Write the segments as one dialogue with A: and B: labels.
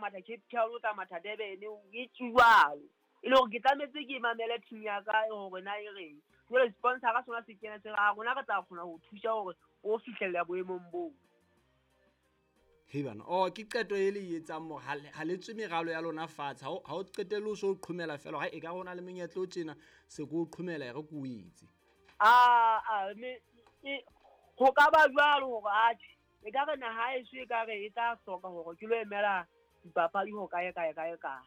A: matha Cape Town, o tla matha Durban, e jwalo. E le hore ke tlametse ke mamele team ya ka hore na e reng. Jwale sponsor-a sona se kena se re a rona re tla kgona ho thusa hore o fihlella boemong boo.
B: Hei bana, oh ke qeto e le e etsang mo ha le tswe meralo ya lona fatshe, ha o qetelle o so o qhomela fela ha e ka rona le menyetla o tjena se ko o qhomela e re ko o etse.
A: A me ho ka ba jwalo hore atjhe e ka re naha eso e ka re e tla hloka hore ke lo emela dipapadi ho kae kae kae kae.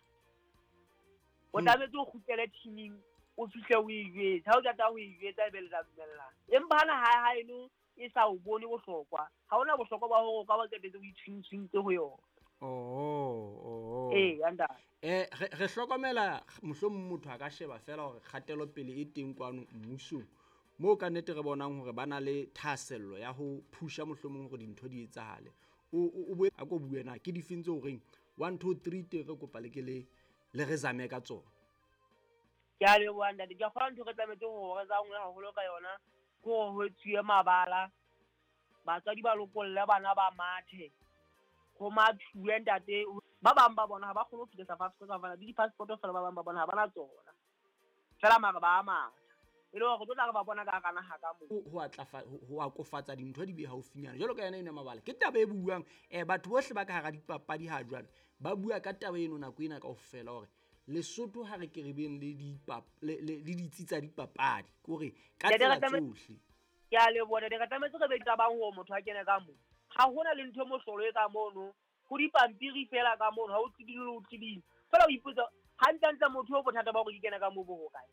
A: O tlametse o kgutlele teaming, o fihle o e jwetse. Ha o qeta ho e jwetsa ebe le tla dumellana. Empa hana hae haeno e sa o bone bohlokwa, ha hona bohlokwa ba hore o ka ba qetetse o itshwintshwintse ho yona.
B: Oh.
A: Ee, ya ntate.
B: Re hlokomela mohlomong motho a ka sheba fela hore kgatelopele e teng kwano mmusong, moo ka nnete re bonang hore ba na le thahasello ya ho phusha mohlomong hore dintho di etsahale. O boe a ko bue na ke difeng tse horeng 1 2 3 teng re kopa le ke le re zame ka tsona.
A: Ke a leboha ntate. Ke a kgolwa ntho re tlametse hore re zangwe haholo ka yona ke hore ho etsuwe mabala, batswadi ba lokolle bana ba mathe, ho mathuwe ntate. Ba bang ba bona ha ba kgone ho fihla South Africa ka hobane le di-passport fela ba bang ba bona ha bana tsona. Fela mara ba a matha. E le hore re tlo tla re ba bona ka hara naha ka moo.
B: Ho akofatsa dintho di be haufinyana. Jwalo ka yona eno ya mabala, ke taba e buang. Batho bohle ba ka hara dipapadi ha jwale ba bua ka taba eno nako ena kaofela hore Lesotho ha re ke re beng le le ditsi tsa dipapadi, ke hore ka tsela tsohle.
A: Ke a leboha ntate, re tlametse re be qabang hore motho a kene ka moo. Ha hona le ntho e mohlolo e ka mono, ho dipampiri fela ka mono, ha o tliding le o tliding. Fela o ipotsa hantlentle motho o bothata ba hore ke kene ka moo bo hokae.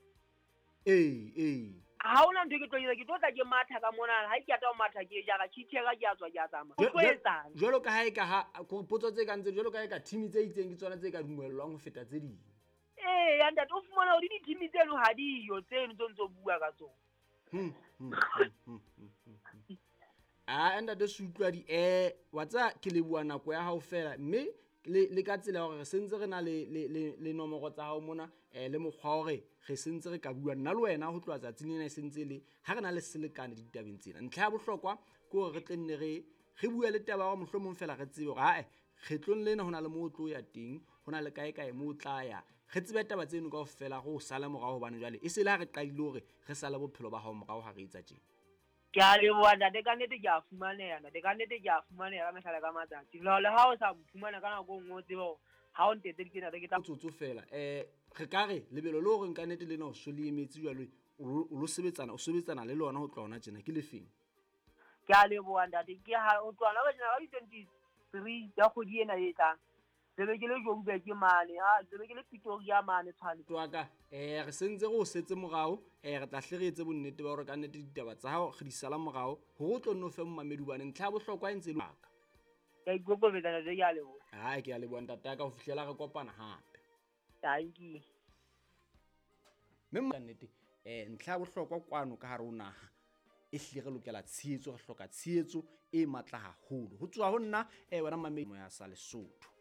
B: Ee.
A: Ha hona ntho e ke tlo etsa, ke tlo tla ke matha ka mona, ha ke qeta ho matha ke jara tjhitjhera ke a tswa ke a tsamaya. O tlo etsang?
B: Jwalo ka ha e ka ha, potso tse kang tse, jwalo ka ha e ka team tse itseng ke tsona tse ka dumellwang ho feta tse ding.
A: Ee, ya ntate, o fumana hore di-team tseno ha diyo tseno tse ntso bua ka tsona.
B: Ah, ntate Sutlwadi, wa tseba ke leboha nako ya hao fela, mme le ka tsela ya hore re sentse re na le nomoro tsa hao mona, le mokgwa wa hore re sentse re ka bua nna le wena ho tloha tsatsing lena e sentse le ha re na le selekane ditabeng tsena. Ntlha ya bohlokwa ke hore re tle nne re bue le taba ya hore mohlomong fela re tsebe hore ae kgetlong lena ho na le moo o tlo ya teng, ho na le kae kae moo o tla ya. Re tsebe taba tseno kaofela re o sale morao hobane jwale e se le ha re qadile hore re sale bophelo ba hao morao ha re etsa tjena.
A: Ke a leboha ntate, ka nnete ke a fumaneha ntate, ka nnete ke a fumaneha ka mehla le ka matsatsi. Le ha o sa mphumana ka nako e nngwe o tsebe hore ha o ntetseditse ntate ke tla
B: Motsotso fela. Re ka re lebelo le horeng ka nnete lena o so le emetse jwale, o lo sebetsana, o sebetsana le lona ho tloha hona tjena ke lefeng?
A: Ke a leboha ntate, ke ha o tloha hona tjena ka di-23 tsa kgwedi ena e tlang. Tsebe ke le Joburg mane, ha tsebe ke le Pretoria mane Tshwane.
B: Twaka, re sentse re o setse morao, re tla hle re etse bonnete ba hore ka nnete ditaba tsa hao re di sala morao, hore o tlo nno fe momamedi hobane ntlha ya bohlokwa e ntse e le ka.
A: Ke a ikokobetsa ntate, ke a leboha.
B: Hai, ke a leboha ntate ka ho fihlela re kopana hape.
A: Thank you.
B: Mme ka nnete, ntlha ya bohlokwa kwano ka hare ho naha e hlile re lokela tshehetso, re hloka tshehetso e matla haholo. Ho tswa ho nna, wena mamedi ya sa Lesotho.